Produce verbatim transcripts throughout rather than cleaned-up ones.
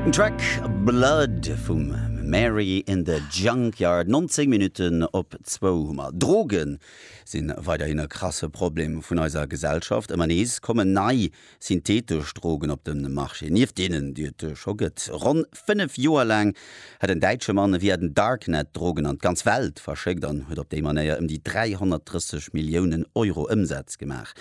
Den Track Blood vum Mary in the Junkyard. nonzéng Minutten op zwou hu mer. Drogen sinn weiderhin e krasse Problem vun eiser Gesellschaft. Ëmmer nees kommen nei synthetesch Drogen op de Marché, nieft deenen, déi et scho gëtt. Ronn fënnef Joer laang hat en däitsche Mann via den Darknet Drogen an d'ganz Welt verschéckt an huet op déi Manéier ëm déi dräihonnertdrësseg Milliounen Euro Ëmsaz gemaach.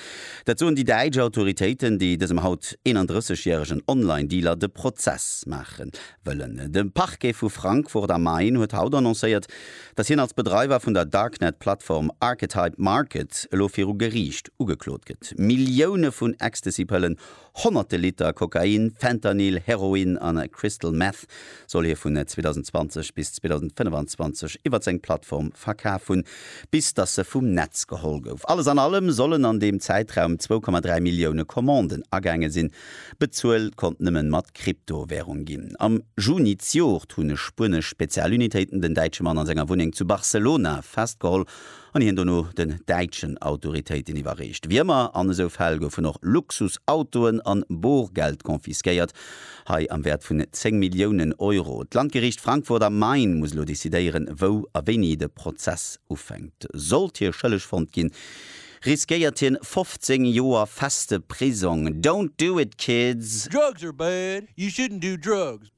Dat soen déi däitsch Autoritéiten, déi dësem haut eenandrësseg järegen Online-Dealer de Prozess maache wëllen. De Parquet vu Frankfurt am Main huet haut annoncéiert, datt hien als Bedreiwer vun der Darknet-Plattform Archetype Market elo viru Geriicht ugeklot gëtt. Millioune vun Ecstasy-Pëllen, honnerte Liter Kokain, Fentanyl, Heroin an Crystal Meth soll hie vun zweedausendzwanzeg bis zweedausendfënnefanzwanzeg iwwer seng Plattform verkaf hunn, bis datt se vum Netz geholl gouf. Alles an allem sollen an deem Zäitraum zwou Komma dräi Millioune Commanden agaange sinn. Bezuelt konnt nëmmen mat Kryptowärung ginn. Am Juni d'Joert hunn spuenesch Spezialunitéiten den däitsche Mann an senger Wunneng zu Barcelona festgeholl an hien dono den däitschen Autoritéiten iwwerreecht. Wéi ëmmer an esou Fäll goufen och Luxusautoen an Borgeld confisquéiert, hei am Wäert vun zéng Milliounen Euro. D'Landgeriicht Frankfurt am Main muss elo decidéieren, wou a wéini de Prozess ufänkt. Sollt hie schëlleg fonnt ginn, riskéiert hien fofzéng Joer feste Prisong. Don't do it, kids! Drugs are bad, you shouldn't do drugs.